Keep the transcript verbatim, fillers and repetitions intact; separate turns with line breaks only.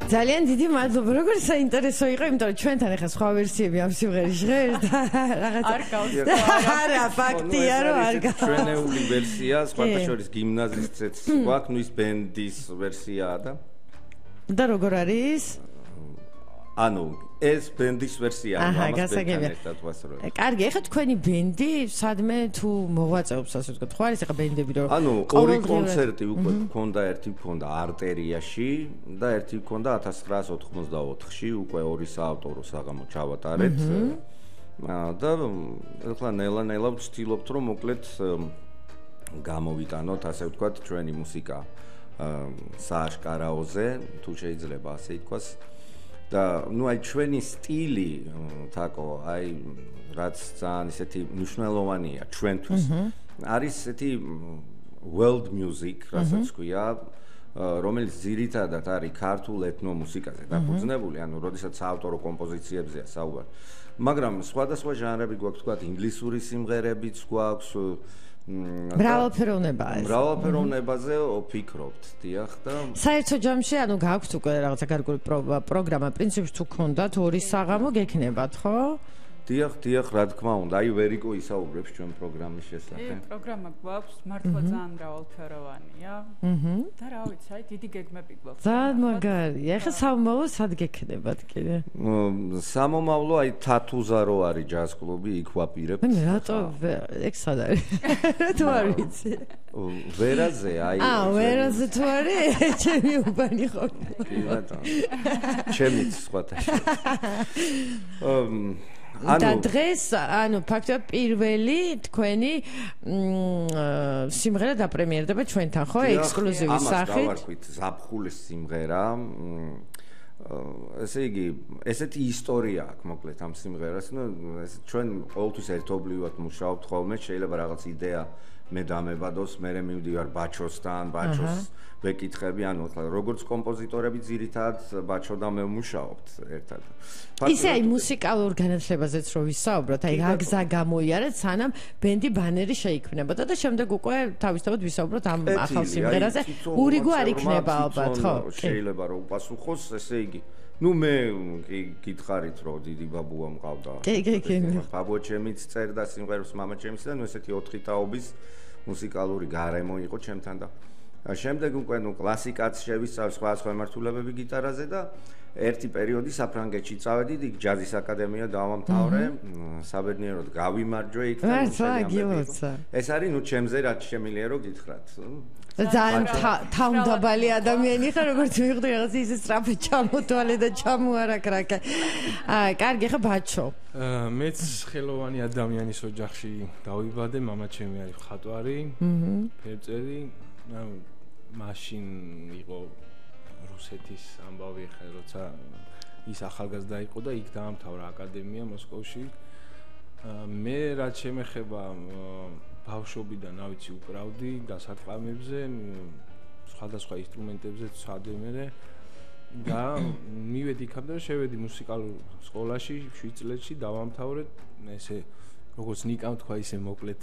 ძალიან დიდი მადლობა. როგორ საინტერესო იყო, იმიტომ რომ ჩვენთან ახლა სხვა ვერსიები ამ სიმღერის ჟღერს და რაღაცა
არ გავს.
არა, ფაქტია რომ არ გავს.
ჩვენეული ვერსია, სხვათა შორის გიმნაზისტებიც გვაქვს, ნუ ის ბენდის ვერსიაა და
და როგორ არის?
ანუ ეს ბენდის ვერსია, ამას ბენდთან ერთად ვასრულებ.
კარგი, ეხლა თქვენი ბენდი სადმე თუ მოღვაწეობს, ასე ვთქვათ, ხო არის ეხლა ბენდები რომ
ანუ ორი კონცერტი უკვე გქონდა, ერთი გქონდა არტერიაში და ერთი გქონდა ათას ცხრაას ოთხმოცდაოთხში, უკვე ორი საავტორო საღამო ჩავატარეთ. და ეხლა ნელა-ნელა ვცდილობთ რომ მოკლედ გამოვიტანოთ, ასე ვთქვათ, ჩვენი მუსიკა სააშკარაოზე, თუ შეიძლება ასე ითქვას. და ნუ აი ჩვენი სტილი თაკო აი რაც ძალიან ისეთი მნიშვნელოვანია ჩვენთვის არის ესეთი world music რასაც ქვია რომელიც ძირითადად არის ქართულ ეთნო მუსიკაზე დაფუძნებული ანუ როდესაც საავტორო კომპოზიციებზეა საუბარი მაგრამ სხვადასხვა ჟანრები გვაქვს თქვა ინგლისური სიმღერებიც გვაქვს
მრავალფეროვნებაა ეს.
მრავალფეროვნებაზე ვფიქრობთ, დიახ და
საერთო ჯამში ანუ გაქვთ უკვე რაღაცა გარკვეული პროგრამა, პრინციპში თუ გქონდათ ორი საღამო გექნებათ, ხო?
დიახ, დიახ, რა თქმა უნდა, აი ვერიკო ისაუბრებს ჩვენ პროგრამის შესახებ.
ე, პროგრამა გვაქვს, მართლა ძალიან მრავალფეროვანია. აჰა. და რა ვიცი, აი დიდი გეგმები გვაქვს.
ძალიან მაგარია. ეხლა სამომავლო სად გექნებათ კიდე?
სამომავლო აი თათუზა რო არის ჯაზ კლუბი, იქ ვაპირებ.
მე რატო ეგ სად არის? თუ არ ვიცი.
ვერაზე აი
აა, ვერაზე თუ არის? ჩემი უბანი ხო?
კი ბატონო. ჩემიც სხვათა
და დღეს, ანუ ფაქტობრივად პირველი თქვენი სიმღერა დაპრემიერდება ჩვენთან, ხო? ექსკლუზივის სახით.
ამას გავარქვით, ზაფხულის სიმღერა. ესე იგი, ესეთი ისტორია აქვს, მოკლედ ამ სიმღერას. ნუ ეს ჩვენ ყოველთვის ერთობლივად მუშაობთ ხოლმე, შეიძლება რაღაც იდეა მე დამებადოს, მე მივდივარ ბაჩოსთან, ბაჩოს ვეკითხები, ანუ როგორც კომპოზიტორები ძირითადად ბაჩო და მე ვმუშაობთ ერთად.
ისე აი მუსიკალურ განათლებაზეც რო ვისაუბროთ, აი რა გზა გამოიარეთ, სანამ ბენდი ბანერი შეიქმნებოდა და შემდეგ უკვე თავისთავად ვისაუბროთ ამ ახალ სიმღერაზე. ურიგო არ იქნება ალბათ, ხო?
შეიძლება რომ უპასუხოს, ესე იგი ნუ მე გითხარით რომ დიდი ბაბუა მყავდა.
კი, კი, კი.
ბაბუა ჩემიც წერდა სიმღერებს, მამა ჩემიც და ნუ ესეთი ოთხი თაობის მუსიკალური გარემო იყო ჩემთან და შემდეგ უკვე ნუ კლასიკაც შევისწავლე სხვა სხვა მართულებები გიტარაზე და ერთი პერიოდი საფრანგეთში წავედი, იქ ჯაზის აკადემია დავამთავრე, საბედნიეროდ გავიმარჯვე იქ და ეს არის ნუ ჩემზე რაც შემიძლია რომ გითხრათ.
ძალიან თავდაბალი ადამიანი ხარ, როგორც მივხვდი რაღაც ისე სწრაფად ჩამოთვალე და ჩამოარაქრაკე. აა, კარგი, ხა ბაჩო.
მეც ხელოვანი ადამიანის ოჯახში დავიბადე, მამა ჩემი არის მხატვარი, ფერწერი, ანუ მაშინ იყო რუსეთის ამბავი ხე, როცა ის ახალგაზრდა იყო და იქ დაამთავრა აკადემია მოსკოვში. მე რაც შემეხება ბავშვობიდან ავიცი უკრავდი გასარტყამებზე, სხვადასხვა ინსტრუმენტებზე ვცადე და მივედი იქამდე რომ შევედი მუსიკალურ სკოლაში შვიდ წლებში დავამთავრე, ესე როგორც ნიკამ თქვა ისე მოკლედ